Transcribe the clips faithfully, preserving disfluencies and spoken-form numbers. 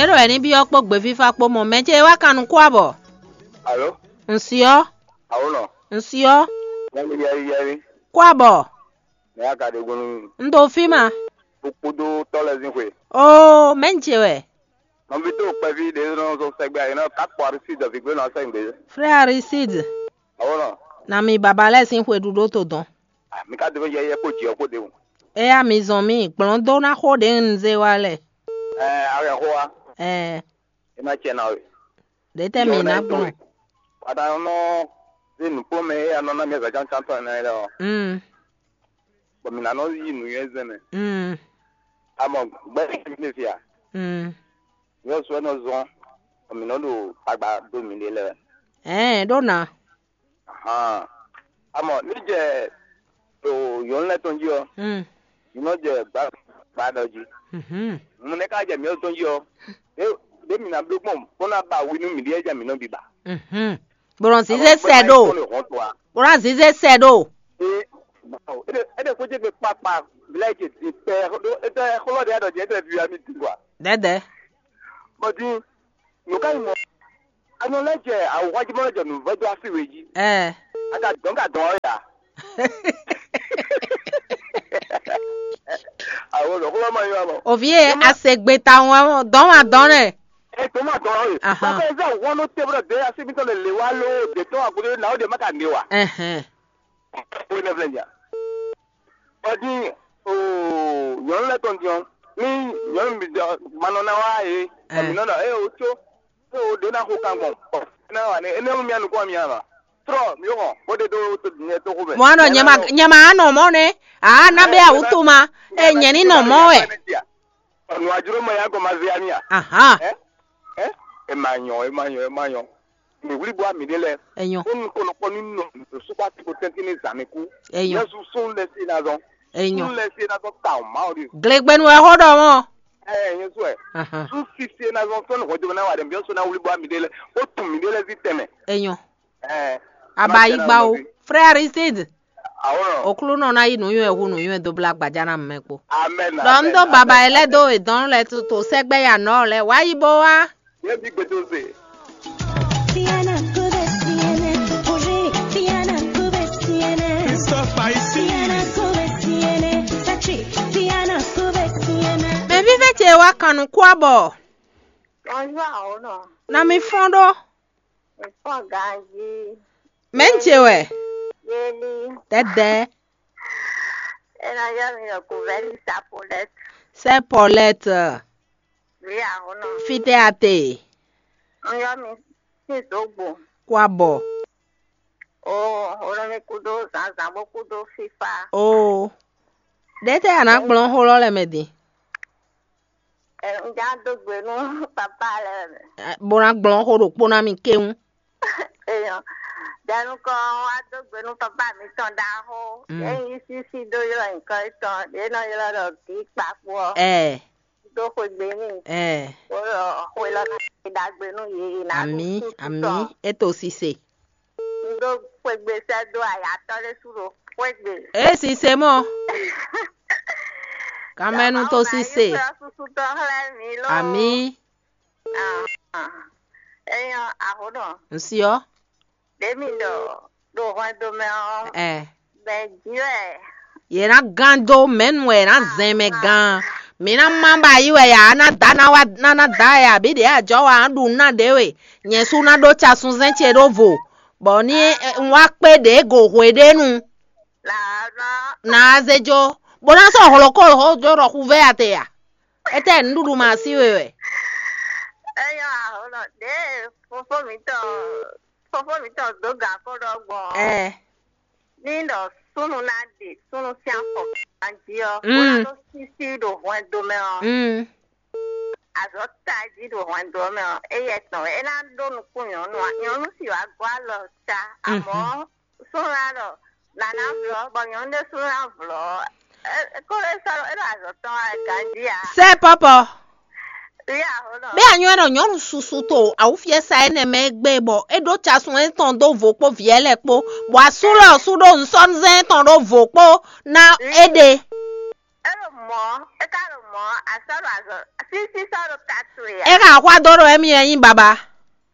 É ɖɔ wɛ ní byɔ́ kpó gběfífá kpó mɔ mɛ ce e wá kan nukún abɔ. Alo? Un syɔ́. Awonɔ? Un syɔ́. Yɛmi yɛmi yɛmi. Kó abɔ. Mɛ ya ka ɖe gbɔn nú mi? Un ɖo fí ma. Kpódó tɔ́ lɛ́ɛ sín xwe. Oo, mɛ̌ un ce wɛ? Nɔví tó kpɛví ɖě nɔ zɔn sɛgbɛ ayǐ nɔ ká kpɔ Aristide dɔ vǐgbé nɔ sɛgbɛ. Frère Aristide. Awonɔ? Na mi baba lɛ́ɛ sín xwe ɖuɖó to dɔn. Ah, mi ka dó yɛyɛ kpó jǐ ɔ́ kpó ɖěbǔ. Éyá mi zɔn mì gblɔ́n dó ná xó ɖě un zé wá lɛ. Ɛɛ, a wɛ xó wa. Ɛɛ. É ná cɛ ná we. Ɖě tɛ́ mǐ ná gblɔn. Wata nɔ zé nǔkplɔ́nmɛ e a nɔ ná mi azǎn cáncán tɔn ɛnɛ lɛ́ɛ ɔ́, Mm. Bɔ mǐ ná nɔ yí nǔnywɛ́ zɛn mɛ. Mm. Amɔ gbɛ́ mi fia. Mm. Yɔ sɔ nɔ zɔn, bɔ mǐ nɔ ɖo tagba dó mǐɖée lɛ́ɛ. Ɛɛ, ɖó ná. Ahan. Amɔ ní jɛ ɖo yɔ̌nu lɛ́ɛ tɔn jí ɔ́, Mm. mǐ nɔ jɛ gbǎ gbǎ ɖɔ jí. Mhm. Nǔ nɛ́ ka jɛ mǐ tɔn jí ɔ́, ɖé ɖé mǐ ná bló gbɔn bó ná ba wi nú mǐɖée jɛ mǐ nɔ biba. Mhm. Bó nɔ zízé sɛ ɖo. Bó ná zízé sɛ ɖo. Ee, é ɖe xwé jɛ gbe kpakpa, vlɛ jɛ di pɛ ɖó étɛ xlɔ ɖe adɔ jɛ étɛ via mi di gwa. Dɛdɛ. Bɔ din, nǔ ka nyí mɔ? Anɔ lɛ jɛ awuxwají mɔ lɛ jɛ nǔvɛ́ dó asi we jí. Ɛ. A ka dɔn ka dɔn ɔ́ ya. Awo lɔ xlɔ ma nyɔ mɔ. Òvi e a se gbe tawun wɛ mɔ, dɔn ma dɔn nɛ. Ɛ tó ma dɔn ɔ́. Ahan. Bàbá ɛ zá wọ́n ló tẹ́ bọ́dọ̀ dé asi mi tɔn lè lè wá ló dé tɔn àgùdé náà ó dé má ka dé wa. Ɛhɛn. Ó ní fẹ́ jà. Ɔdi o nyɔnu lɛ tɔn diɔn ni nyɔnu mi dɔ manɔ na wa ye Ɛ. Ɔmi nɔ dɔ e o tso e o ɖe na xo kan gbɔn ɔ na wa ne ene mu mia nukun mi ama trɔ mi o hɔn o de do to nyɛ to xo mɛ. Mɔ anɔ nyɛ ma nyɛ ma anɔ mɔ ne a na bɛ awutu ma e nyɛ ni nɔ mɔ wɛ. Ɔnu aduro mɔ ya gɔ ma ze ami a. Ahan. Ɛ ɛ e ma nyɔ e ma nyɔ e ma nyɔ. Mi wlí bó ami ɖé lɛ. Enyo. Ó nu kɔnɔ kpɔ nínú nɔ sukpɔ ati ko tɛntin ní zan mi kú. Enyo. Yɛsu sún lɛ sí na zɔn. Enyo. Sún lɛ sí na zɔn ta o ma o de. Glegbenu wɛ xɔ ɖɔ mɔ. Ɛ yẹn sɔ ɛ. Ahan. Sún sisi na zɔn sɔn ní hɔjɔmɔ náà wà dɛ mi sɔ náà wlí bó ami ɖé lɛ. Ó tún mi ɖé lɛ sí tɛmɛ. Enyo. Ɛ. Abayigba o. Frère Aristide. Awɔrɔ. Oklunɔ na yi nuyɔn hu nuyɔn do bla gbaja na mɛ kpo. Amen. Dɔ n do baba yi lɛ do edɔn lɛ to sɛgbɛ ya nɔ lɛ wa yi bo wa. Ye bi gbedo se. Christophe Haïti. Mɛ vívɛ ce wa kan nukú abɔ. Bonjour, Awono. Na mi fɔn ɖo. Ìfɔn ganjí. Mɛ ń ce wɛ. Yeli. Dɛdɛ. Ena yɔ mi yɔ kuvɛli sapolɛt. Sɛ pɔlɛt. Wi ahunɔ. Fitɛ ate. N yɔ mi sí zogbo. Kó abɔ. O, o nɔ mi kú dó zǎnzǎn bó kú dó fífá. O. Ɖe tɛ a nǎ gblɔn xó lɔ lɛ mɛ din. Ɛ, un já dó gbe nú papá lɛ mɛ. Bó ná gblɔn xó ɖokpó ná mi kéwún. Eyɔ, jɛnukɔ wá dó gbe nú papá mi tɔn ɖaxó. Mm. Ényí sísí dó ylɔ́ nyǐkɔ étɔn ɖě nɔ ylɔ́ ɖɔ gǐ kpakpo ɔ́. Ɛ. Dó xwegbe n'i. Ɛ. Bó ɖɔ xwe lɔ ná ɖagbe nú yě yě ná ɖu Amí, súsú amí, tɔn. É to sise. Un ɖó xwegbe sɛ́ dó ayatɔ́ ɖé sú ɖo xwegbe. É sise mɔ. Kamɛnu to sise. Susutɔ xlɛ́ mǐ ló. Amí. Eyɔ aho nɔ. Nsiɔ. Ɖě mi ɖɔ ɖo hwɛndo mɛ ɔ́. Ɛ. Bɛ jí wɛ. Yě ná gán dó mɛ̌nu wɛ yě ná zɛn mɛ gán. Mǐ ná má ba yí wɛ yě á ná dá ná wá ná ná dá wɛ abǐ ɖě ajɔ wa ná ɖu ná ɖě we. Nyɛ sú ná ɖó casunzɛn ce ɖó vo, bɔ ní un wá kpé ɖě go hweɖénu. Naa zé jó, bó ná sɔ́ hlɔ̌kó jó ɖɔ xuvɛ́ ate a? Étɛ́ nǔɖuɖu ma sí we wɛ? Eyɔ ahlɔ ɖě fofó mǐtɔn fofó mǐtɔn dó gǎn kó ɖɔ gbɔn ɔ́, Ɛ. Ní ɖɔ súnnu ná ɖe súnnu sín afɔ ganjí ɔ́, bó ná Mm. Ɖó sísí ɖo hwɛndo mɛ ɔ́, Mm. Azɔ̌ tají ɖo hwɛndo ɔ́ mɛ ɔ́, éyɛ́ tɔn wɛ é ná ɖó nukún nyɔ̌nu ǎ. Nyɔ̌nu sì wá gɔ́ alɔ ta, amɔ̌ súnnu ná ɖɔ nǎ ná vlɔ́, bɔ nyɔ̌nu ɖésú ná vlɔ́. É é ko ɖo é sɔ́ é ɖo azɔ̌ tɔn wá ganjí ǎ. Sɛ pɔpɔ. Ví aho nɔ. Bɛ anyɔ nɔ nyɔnu susu to awufiɛsa enɛ mɛ gbe bɔ e ɖo casun etɔn do vo kpo viɛ lɛ kpo, bɔ asu lɛ ɔsu ɖo nsɔnzɛn etɔn ɖo vo kpo na e ɖe. Elo Mɔ̌, é ka ɖo mɔ̌, a sɔ́ ɖo azɔ̌, sísí sɔ́ ɖo ta towe ǎ. É ka axwá dó ɖo émí wɛ nyí baba.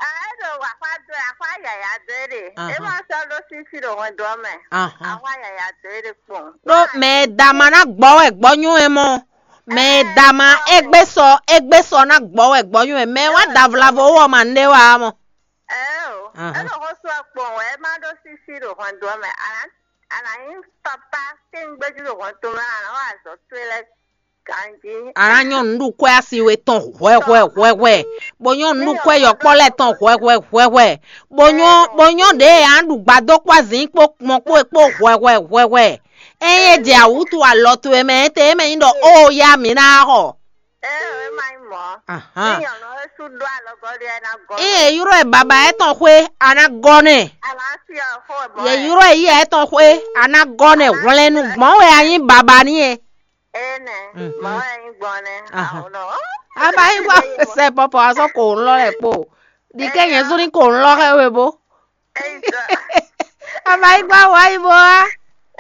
Aa, é ɖo axwá dó, axwá yǎyá dó é ɖe. É Ahan. Ma sɔ́ ɖó sísí ɖo hwɛndo ɔ́ mɛ. Ahan. Axwá yǎyá dó é ɖe kpɔn. Ɖó mɛ e da ma ná gbɔ wɛ gbɔ nyɔ́ ɛ mɔ. Mɛ e da ma égbé sɔ égbé sɔ ná gbɔ wɛ gbɔ nyɔ́ ɛ. Mɛ e wá da vlavo wɔ ma nɖé wa mɔ. Ɛɛ o, Ahan. É ɖo xó sú ɔ kpɔn wɛ, é má ɖó sísí ɖo hwɛndo ɔ́ mɛ. A nǎ a nǎ nyí papa kɛ́ngbéjú ɖo hɔn tomɛ, a nǎ wa azɔ̌ towe lɛ́ɛ ganjí. A nǎ nyɔ́ nǔɖukwɛ́ asi we tɔn hwɛhwɛ hwɛhwɛ, bó nyɔ́ nǔɖukwɛ́ yɔkpɔ́ lɛ́ɛ tɔn hwɛhwɛ hwɛhwɛ, bó nyɔ́ bó nyɔ́ ɖě e a nǎ ɖu gbadó kpó azǐn kpó kpɔn kpó é kpó hwɛhwɛ hwɛhwɛ. Ényí é jɛ awǔtu alɔ towe mɛ étɛ́ é mɛ nyí ɖɔ ó yá mǐ ná xɔ. Ee, é ma nyí mɔ̌. Ahan. Ní nyɔ̌nu é sú ɖó alɔgɔ́ ɖé ɛ ná gɔ́. Ée è ylɔ́ ɛ baba étɔn xwé, a ná gɔ́ nɛ. A nǎ si ɔ xó ɛ mɔ̌. Yě ylɔ́ ɛ yí ɛ étɔn xwé, a ná gɔ́ nɛ. Hwlɛ́nnu gbɔn wɛ a nyí baba n'i é. Énɛ́, Mhm. Mɔ̌ wɛ nyí gbɔn nɛ́. Ahan. Ahun nɔ. A ma nyí gbɔ sɛ pɔpɔ a sɔ́ kò ŋlɔ́ lɛ kpo. Ɖi ké nyɛ zú ní kò ŋlɔ́ xɛ we bó. Eyi dɔ. A ma nyí gbɔ wɔ yi bó wá.